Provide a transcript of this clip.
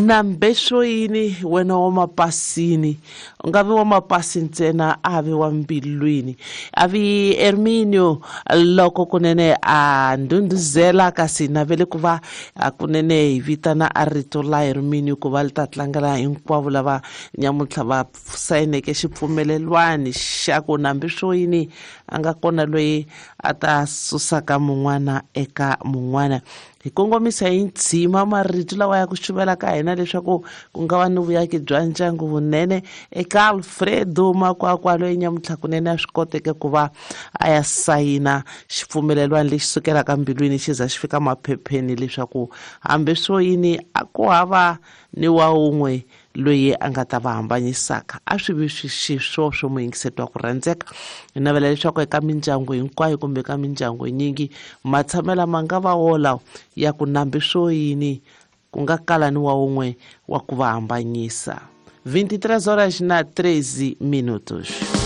Nambe swo yini wena wa mapasini, u nga vi wa mapasi ntsena, a vi wa mbilwini. A vi Herminio loko kunene a ndhundhuzela, kasi navele ku va kunene hi vitana a rito la Herminio ku va li ta tlangela hinkwavo lava nyamuntlha va sayineke xipfumelelwani xa ku nambi swo yini a nga kona loyi a ta susaka mun'wana eka mun'wana. Hi kongomisa hi ndzima marito lawa ya ku xuvela ka hina leswaku ku nga va ni vuyaki bya ndyangu vunene eka Alfredo Makwakwa loyi nyamuntlha kunene a swi koteke ku va a ya sayina xipfumelelwani lexi sukelaka mbilwini xi za xi fika maphepheni leswaku hambi swo yini a ku hava ni wa wun'we loyi a nga ta va hambanyisaka. A swi vi xiswoswo muyingiseti wa ku rhandzeka. Hi navela leswaku eka mindyangu hinkwayo kumbe eka mindyangu yinyingi matshamela ma nga va wolawo ya ku nambi swo yini ku nga kala ni wa wun'we wa ku va hambanyisa. 23 horas na 13 minutos.